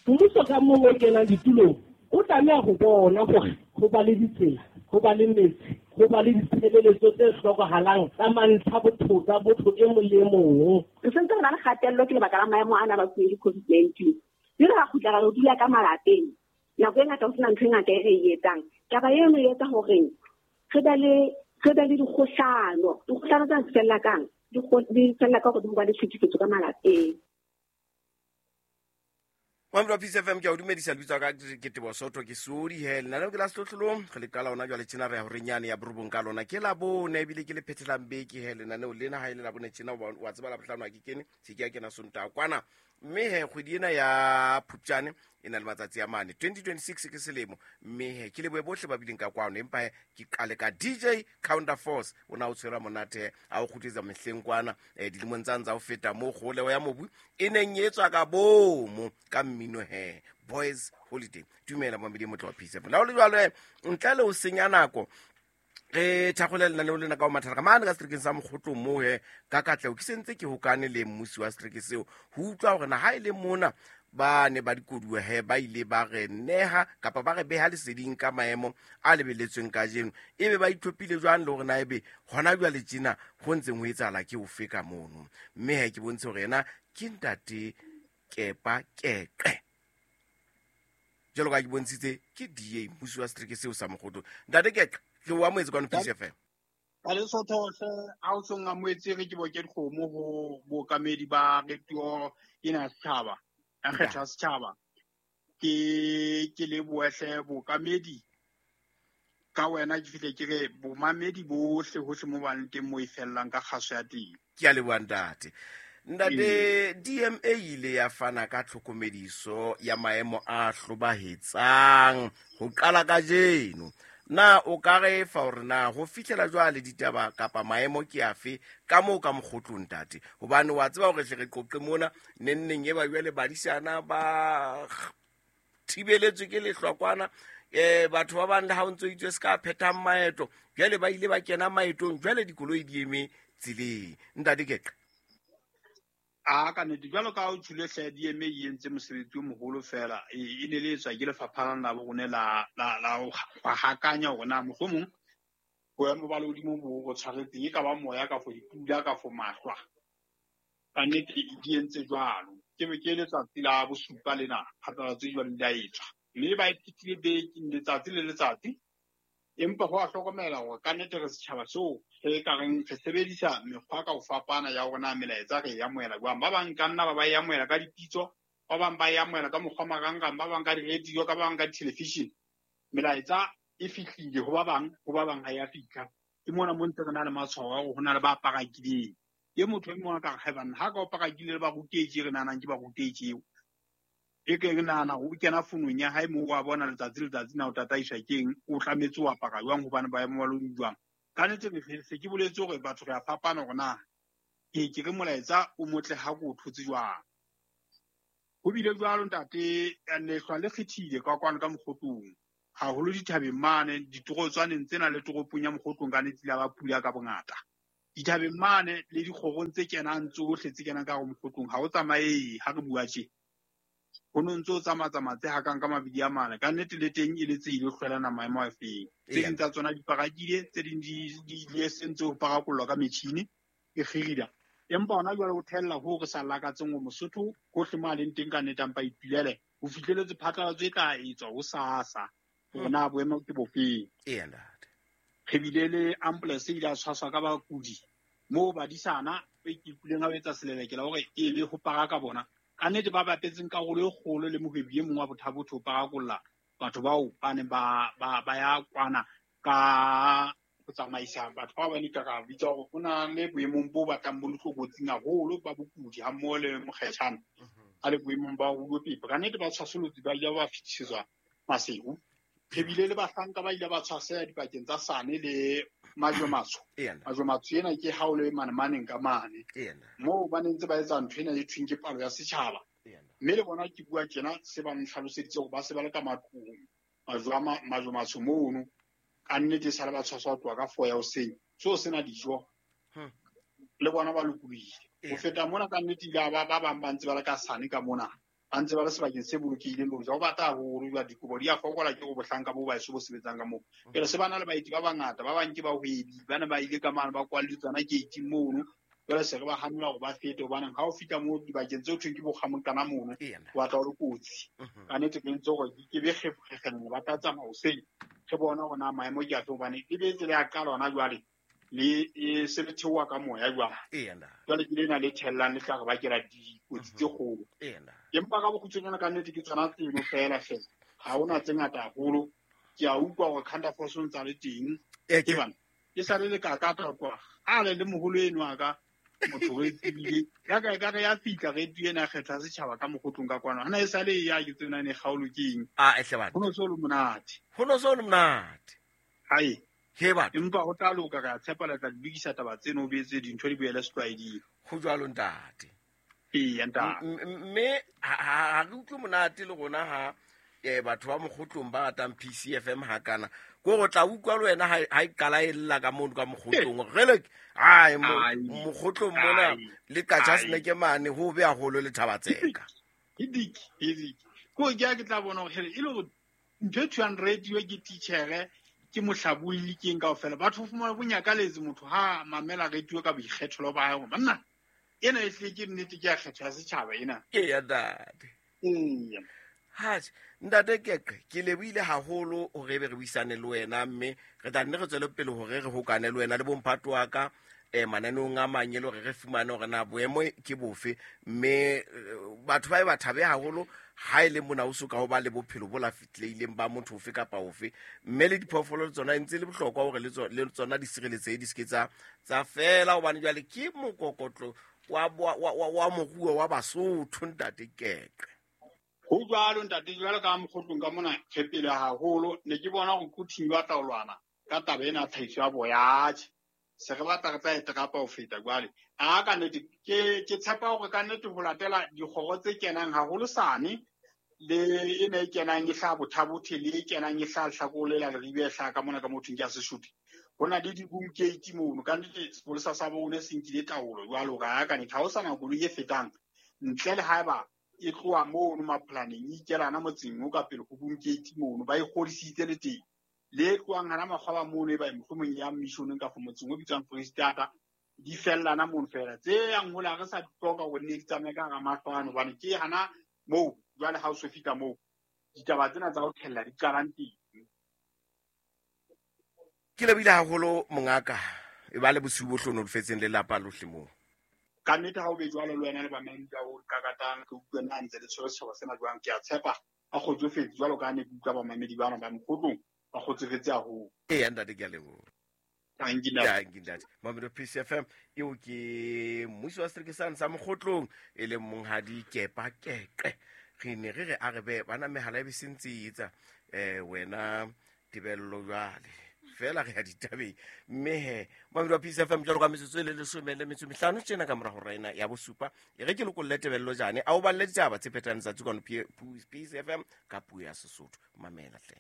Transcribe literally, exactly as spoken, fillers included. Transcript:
Mmuso ka mong o kenang ditulong o tlameha ho bona hore ho ba le ditsela, ho ba le metsi, ho ba le ditshebeletso tse hlokahalang tsa mantlha botho tsa botho e mong le e mong. Re sentse re na le kgatello ke lebaka la maemo ana a bakuweng ke COVID nineteen. Mme re kgutla ra dula ka malapeng. Nako e ngata ho sena ntho e ngata e re e etsang. Taba eno e etsa hore re be le re be le dikgohlano. Dikgohlano tsena di fella kang? Di di fella ka hore di ho ba le tlhekefetso ka malapeng. Mamelo wa Peace F M, ke a o dumedisa, lebitso la ka ke Teboho Soto, ke Sodi he. Lenaneo ke la Sehlohlolong, re le qala hona jwale tjena, re ya horeng yane ya borobong ka lona. Ke Labone, ebile ke le phethelang beke he lenaneo lena. Ha e le Labone tjena, wa, wa tseba Labohlano ha ke kene, se ke ya kena Sontaha kwana. Mme he kgwedi ena ya Phupjane e na le matsatsi a mane, twenty twenty-six ke selemo. Mme he ke lebohe bohle ba bileng ka kwano, empa he ke qale ka D J Counter Force, o na o tshwere monate he, a o kgutletsa mehleng kwana, eh, dilemong tsa ntsa ho feta moo kgoleho ya mobu e neng e etswa ka bomo ka mmino he, Boys Holiday. Dumela mamedi e motle wa Peace F M. La ho le jwalo he, ntle le ho senya nako, re thakgole lenaneo lena ka ho mathata ka mane ka seterekeng sa Mokgotlong moo he, ka katleho ke sentse ke hokane le mmusi wa setereke seo ho utlwa hore na ha e le mona ba ne ba dikoduwa he, ba ile ba re neha kapa ba re beha leseding ka maemo a lebeletsweng kajeno, ebe ba itlhophile jwang le hore na ebe hona jwale tjena ho ntseng ho etsahala ke ofe ka mono. Mme he ke bontshe hore yena ke ntate Kepa Keqe, jwalo ka ke bontshitse ke D A mmusi wa setereke seo sa Mokgotlong. Ntate Keqe, ke o amohetse kwano Peace F M. Ba le Sotho hle, ha o song amohetse re ke bo ke dikgomo ho bookamedi ba radio ena ya setjhaba, ya kgetho ya setjhaba. Ke, ke lebohe hle bookamedi ka wena, ke fihle ke re bomamedi bohle hohle mo ba leng teng mo e fellang ka kgaso ya teng. Ke a leboha ntate. Ntate, Ee. D M A ile ya fana ka tlhokomediso ya maemo a hlobahetsang ho qala kajeno. Na o ka re fa hore na ho fihlela jwale ditaba kapa maemo ke afe ka moo ka Mokgotlong ntate? Hobane wa tseba hore hle re qoqe mona nenneng e ba jwale badisana ba thibeletswe ke lehlwa kwana, eh, batho ba bang le ha o ntso itswe se ka phethang maeto, jwale ba ile ba kena maetong, jwale dikoloi di eme tseleng. Ntate Keqe. A ka nnete, jwalo ka ha o tjhole hle, D M A e entse mosebetsi o moholo fela, e, e ne le etswa ke lefapha la bo rona la, la, la ho hakanya hore na mohlomong boemo ba lehodimo bo go tshwaretseng, e ka ba moya kafo dipula kafo mahlwa. Ka nnete di entse jwalo. Ke be ke letsatsi la bosupa lena, phatlalatso e jwalo di a etswa. Mme ba e phethile beke, letsatsi le letsatsi. Empa ho a hlokomela hore ka nnete re setjhaba seo re ka reng re sebedisa mekgwa ka ho fapana ya hore na melaetsa re e amohela jwang. Ba bang ka nna ba ba e amohela ka dipitso, ba bang ba e amohela ka mokgwa marangrang, ba bang ka di-radio, ka ba bang ka di-television. Melaetsa e fihlile ho ba bang, ho ba bang ha e a fihla. Ke mona mo ntse re na le matshwao a hore ho na le ba parakileng. Ke motho e mong a ka re, hai banna, ha ka o parakile le barutehi re nahanang ke barutehi eo. E ke re nahana hore o kena founung ya hae moo wa bona letsatsi le letsatsi na o tataiswa ke eng, o tlametse ho apara jwang hobane boemo ba lehodimo jwang. Ka nnete re se ke boletse hore batho re a fapana hore na ke, ke re molaetsa o motle ha ke o thotse jwang. Ho bile jwalo ntate, lehlwa le kgethile ka kwano ka Mokgotlong, haholo dithabeng mane, ditorotswaneng tsena le toropong ya Mokgotlong ka nnete la ba pula ka bongata. Dithabeng mane le dikgorong tse kenang tsohle tse kenang ka hare Mokgotlong ha o tsamaye ha re bua tje. Ho no ntso tsamaya-tsamaya tse hakang ka mabidi a mane. Ka nnete le teng e le tse ile hlwelana maemo a feng. Tse ding tsa tsona di parakile, tse ding di, di ile sentse ho parakollwa ka metjhini e kgirida. Empa hona jwale ho thella hoo re sa lakatseng hore Mosotho hohle mo a leng teng ka nnete a mpa ipulele. Ho fihleletse phatlalatso e tla etswa hosasa hore na boemo ke bofeng. Eya, ntate. Re bile le ambulance e ile ya tshwaswa ka bakudi moo badisana e ke ikutlwileng ha o etsa selelekela hore e be ho paraka bona. Ka nnete ba bapetseng karolo e kgolo le mohwebi e mong wa Botha-Bothe ho parakolla batho bao ba neng ba, ba, ba ya kwana ka ho tsamaisa batho bao ba ne ka ra bitsa hore ho na le boemong bo batlang bo le tlokotsing haholo ba bokudi ha mmoho le mokgetjhana a le boemong ba ho utlwa pepe. Ka nnete ba tshwasolotse ba ile ba fetisetswa Maseru. Re bile le bahlanka ba ile ba tshwaseha dipakeng tsa Sane le Majwematsho. Eya. Majwematsho ena ke ha o le mane maneng ka mane. Eya. Moo ba ne ntse ba etsa ntho ena e thweng ke palo ya setjhaba. Eya. Mme le bona ke bua tjena se ba ntlhaloseditse hore ba se ba le ka matlong, Majwama-, Majwematsho mono. Ka nnete e sale ba tshwaswa ho tloha ka four ya hoseng. Seo sena dijo. Hmm. Le bona ba lokolohile. Eya. Ho feta mona ka nnete ile ba, ba bang ba ntse ba le ka Sane ka mona. Ba ntse ba le sebakeng se bolokehileng le hoja ho bata haholo jwale dikobo di a fokola ke go bohlanka bo ba eso bo sebetsang ka moo. Pele se ba na le baeti ba bangata ba bang ke bahwebi ba ne ba ile ka mane ba kwalletswe tsona gate mono. Jwale se re ba hanela hore ba fete hobane ha o fihla moo dibakeng tseo thweng ke bo kgamoqana mono wa tla o le kotsi. Ka nnete ke ntse hore ke be kgefukgefela ba tla tsamaya hoseng re bona hore na maemo ke afe hobane e be tsela ya qala hona jwale le e se le theoha ka moya jwale. Jwale ke lena le thellang le tla re bakela dikotsi tse kgolo. Empa ka bokgutshwanyane ka nnete ke tsona tseno fela fela. Ha hona tse ngata haholo. Ke a utlwa hore Counter Force o ntsa le teng. Ke bana. Ke sa le le kakata kwa. A le le moholo eno a ka motho re tsebile ya ka ekare ya fihla radio ena kgetha setjhaba ka mokgotlong ka kwana. Hana e sale ya ke tsena ne kgaolo ke eng? Ah, ehle batho. Ho no so le monate. Ho no so le monate. Hai. He batho. Empa ho tla loka ka tshepa le tla lokisa taba tseno o betse dintho di boele setlwaeding. Ho jwalo ntate. Ee, ntate. Mme ha re utlwe monate le rona ha eh batho ba mokgotlong ba ratang P C F M hakana. Ko go tla utlwa le wena ha e qala e lla ka mono ka mokgotlong. Re le ai mokgotlong mona le katja sneke mane ho be haholo le Thabatseka. Ke dik, ke dik. Ko ke a ke tla bona hore e le hore ntho e thwang radio ke teacher ke mohlabulli ke eng kaofela. Batho fumana bonyakaletse motho ha mamela radio ka boikgethelo ba hae. Banna ena e hle ke nnete ke ya kgetho ya setjhaba ena. Ee ya ntate. Ee. Hatjhe, ntate Keqe, ke lebohile haholo hore ebe re buisane le wena mme re tla nne re tswele pele hore re hokane le wena le bomphato wa ka eh mananeong a mang e le hore re fumane hore na boemo ke bofe mme batho ba e ba thabe haholo ha e le mona o soka ho ba le bophelo bo la fitlehileng ba motho ofe kapa ofe mme le diphoofolo le tsona e ntse le bohlokwa hore le tsona di sireletsehe di se ke tsa tsa fela hobane jwale ke mokokotlo wa wa wa moruo wa Basotho ntate Keqe. Ho jwalo ntate, jwalo ka mokgotlong ka mona re pele haholo ne ke bona hore kuthing ba tla lwana ka taba ena tlhahiso ya boya. Se re batla re tla e terapa ho feta jwale. A ka nnete ke ke tshepa hore ka nnete ho latela dikgoro tse kenang haholo sane le ena e kenang e hlaha Bothabothe le e kenang e hlaha Hlakole la Leribe e hlaha ka mona ka mothong ke ya Sesotho. Ho na le di-boom gate mono ka nnete sepolesa sa bone se nkile taolo jwalo ka ka nnete ha ho sana koloi e fetang ntle le haeba e tloha mono mapolaneng e ikelana motseng o ka pele ho boom gate mono ba e kgodisitse le teng. Le tlohang hana makgwaba mono e ba mohlomong ya missioneng ka motseng o bitswang Freistata di fellana mono fela. Tse yang hola re sa di hloka hore ne di tsamaye ka hara mahlo ano hobane ke hana moo jwale ha o so fihla moo ditaba tsena tsa ho thella di qalang teng. Ke lebohile haholo mongaka e ba le bosiu bo hlohonolofetseng le lelapa lohle moo. Ka nnete ha o be jwalo le wena le bamamedi ba o kakatang ke utlwe na ntse le tshwere setjhaba sena jwang. Ke a tshepa a kgotsofetse jwalo ka ne ke utlwa bamamedi bana ba mokgotlong ba kgotsofetse haholo. Ee ntate ke a leboha. Thank you, ntate. Mamelo P C F M eo ke mmusi wa setereke sa Mokgotlong e leng monghadi Kepa Keqe. Re ne re re a re be bana mehala e be sentse etsa eh wena Tebello jwale fela re ya ditabeng mme he mamelo wa P C F M jwalo ka metsotso e le leshome le metso mehlano tjena ka mora hora ena ya bosupa e re ke lokolle Tebello jane a o balle ditaba tse phethang letsatsi kwano P C F M ka puo ya Sesotho. Mamela hle.